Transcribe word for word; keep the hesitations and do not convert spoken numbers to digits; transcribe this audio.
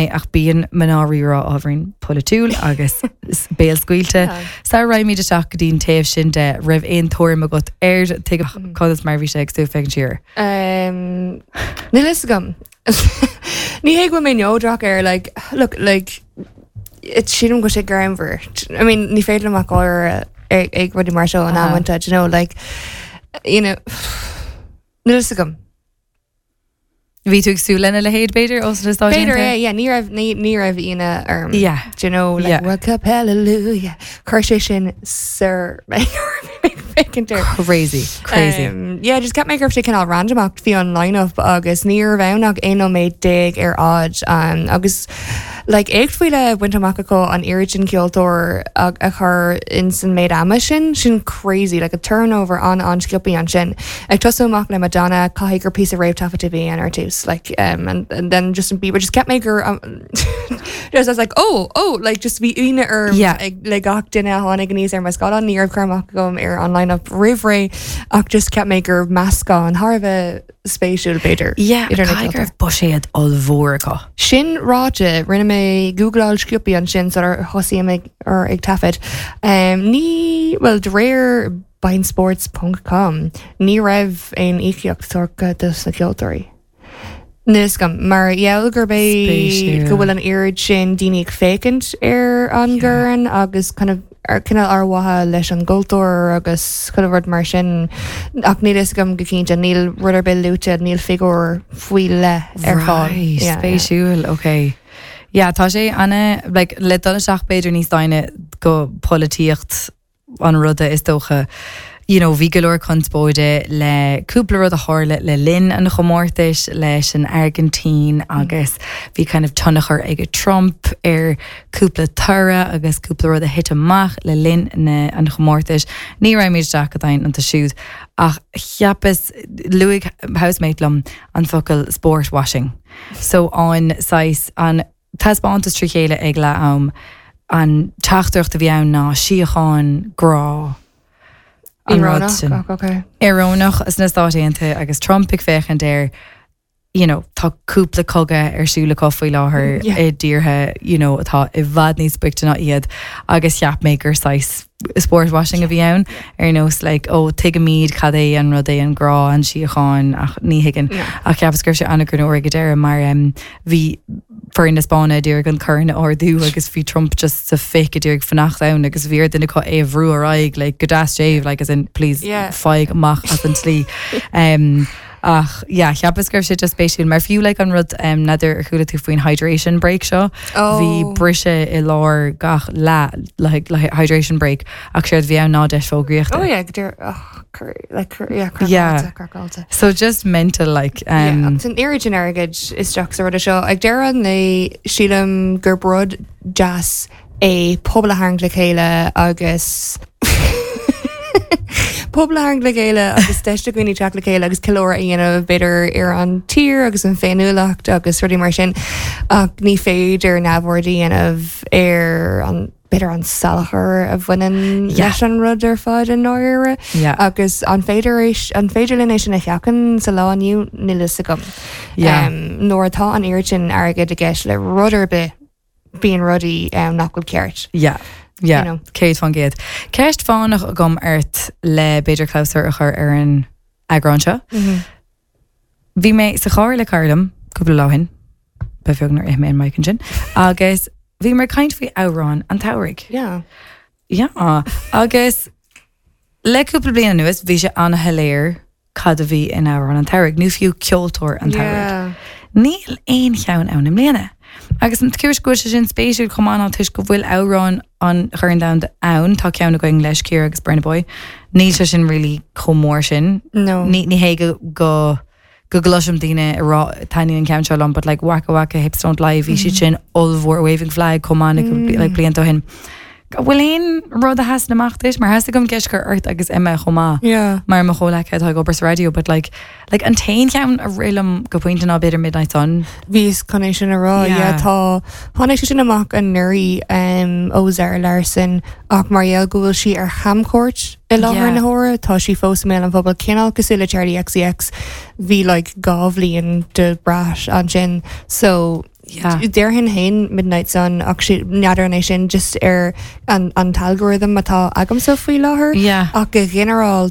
Ach bíonn mná Rí-Rá ábhairín polaitiúil agus béalscaoilte. Sara raghaimid isteach go dtí an taobh sin de, raibh aon tuairim agat ar tuige conas mar bhí sé ag tú féachaint siar? Um, Níl fhios agam. Ní hé go bhfuil mé neodrach air, like, look, like, it's sílim go sé greannmhar. I mean, ní féidir liom ach gáire ag ag rudaí mar seo an Aha. amanta, you know, like, you know, níl fhios agam. Bhí tú ag súil lena leithéid, b'fhéidir, ó sna Stáit B'fhéidir Aontaithe? é, yeah, ní raibh ní ní raibh ionadh orm. Yeah. Do you know, like, Yeah. World Cup, hallelujah. Chuir sé sin soir féachaint air. Crazy, crazy. Um, yeah, just cheap mé go raibh sé cineál random ach bhí an line-up agus ní raibh ann ach aon nóiméad déag ar fhad um, agus like éacht faoi leith bainte amach acu an oiread sin ceoltóir a, a chur in san méid ama sin, sin crazy, like a turnover an an sciobtha ansin. Ag tosú amach le Madonna, caithfidh gur píosa réamhthaifeadta a bhí ann ar tús, like um, and, and then Justin Bieber, just cheap mé gur um, just I was like, oh oh like just bhí ionadh orm Yeah. ag le gach duine a tháinig aníos ar mo scáileán, ní raibh cur amach agam ar an line-up roimh ré ach just cheap mé gur meascán thar a bheith spéisiúil, b'fhéidir. Yeah, idir na caithfidh go ceoltóirí. raibh buiséad ollmhór acu. Sin ráite, rinne mé googláil sciobtha ansin sular thosaigh mé ar ag taifead. Um, ní well de réir beINsports dot com ní raibh aon íocaíocht tugtha dos na ceoltóirí. Níos gom mar gheall gur bé Spéisiúil. go bhfuil an oiread sin daoine ag féachaint ar an Yeah. gcorn agus kind of ar cineál ar mhaithe leis an gcultúr agus kind of rud mar sin, ach níl fhios agam go cinnte, níl rud ar bith luaite, níl figiúr faoi leith ar fáil. Right, Yeah, yeah. spéisiúil, okay. Yeah, tá sé ana like, le dul isteach b'fhéidir níos doimhne go polaitíocht an ruda is dócha. You know, bhí go leor conspóide le cúpla rud a tharla le linn an chomórtais leis an Argentín agus bhí kind of tionchar ag Trump ar cúpla toradh agus cúpla rud a thit amach le linn na an chomórtais. Ní raghaimid isteach go domhain iontu siúd ach cheapas, luaigh housemate liom an focal "sport washing". So an saghas an taispeántas trí chéile ag le am an teachtaireacht a bhí ann ná síocháin, grá, an rud Íorónach, sin. ach okay. Íorónach sna Stáit Aontaithe agus Trump ag féachaint air, you know, tá cúpla cogadh ar siúl acu faoi láthair Yeah. i dtíortha you know, atá i bhfad níos boichte ná iad agus cheap mé gur saghas sport washing a bhí ann ar nós like, ó tuigimid cad é an rud é an grá, an síocháin, ach ní thuigeann Yeah. ach cheapas gur sé an-ghreannmhar ag deireadh mar um, bhí foireann na Spáinne d'iarraidh an corn a ardú agus bhí Trump just sa fic a d'iarraidh fanacht ann agus bhí ar duine acu é a bhrú ar aghaidh like, go deas séimh, like, as in, please Yeah. faigh amach as an tslí. Um, ach yeah, cheapas gur sé just spéisiúil mar fiú like, an rud um, n'fheadar ar chuala tú faoin hydration break seo, Oh. bhí briseadh i lár gach leath like, like, hydration break ach séard bhí ann ná deis fógraíochta. Oh yeah, go oh, cur, like cur, yeah, Yeah. craiceáilte, craiceáilte. So just mental like Um, um, agus an oiread sin airgid isteach sa rud seo, ag deireadh an lae sílim gur rud deas é pobal a tharraingt le chéile agus pobal a tharraingt le chéile agus deis do dhaoine teacht le chéile agus ceiliúradh a dhéanamh b'fhéidir ar an tír agus an féiniúlacht agus rudaí mar sin, ach ní féidir neamhaird a dhéanamh ar an b'fhéidir an salachar a bhaineann Yeah. leis an rud ar fad i ndáiríre. Yeah. Agus an féidir é- an féidir linn é sin a sheachaint sa lá inniu? Níl fhios agam. Yeah. Um, nuair atá an oiread sin airgid i gceist le rud ar bith, bíonn rudaí um, nach bhfuil ceart. Yeah. Yeah, You know. céad faoin gcéad. Ceist fánach agam ort le b'fhéidir clabhsúr a chur ar an eagrán seo. Bhí mé sa charr le cara liom cúpla lá ó shin, ba bheag nár ith mé an mic ansin, agus bhí mar caint faoi amhrán an tsamhraidh. Yeah. Yeah, agus le cúpla bliain anuas bhí sé an-shoiléir cad a bhí in amhrán an tsamhraidh, nó fiú ceoltóir an tsamhraidh. Yeah. Níl aon cheann ann i mbliana. Agus an chúis go bhfuil sé sin spéisiúil chomh maith ná toisc go bhfuil amhrán an Chorn Domhanda ann, tá ceann againn le Shakira agus Burna Boy. Níl sé sin really chomh mór sin. No. Ní ní hé go go go gcloisim daoine ag rá "Taitníonn an ceann seo liom", but like Waka Waka, Hips Don't Lie, bhí siad sin ollmhór, Waving Flag chomh maith mm. like blianta ó shin. Bhfuil aon rud a sheasann amach duit mar theastaigh uaim ceist a chur ort agus Emma chomh maith? Yeah. Mar mo chomhghleacaithe atá ag obair sa raidió, but like like an t-aon cheann a rith liom go pointe ná b'fhéidir Midnight Sun. Bhíos chun é sin a rá. Yeah. Yeah, tá tháinig sé sin amach anuraidh um, ó Zara Larsson ach mar gheall go bhfuil sí ar chamchuairt i láthair Yeah. na huaire, tá sí fós i mbéal an phobail, cineál cosúil le Charli X C X, bhí like dhá bhliain de Brat ansin, so Yeah. Déarfainn féin Midnight Sun ach n'fheadar é sin just ar an an algorithm atá agamsa faoi láthair Yeah. ach go ginearálta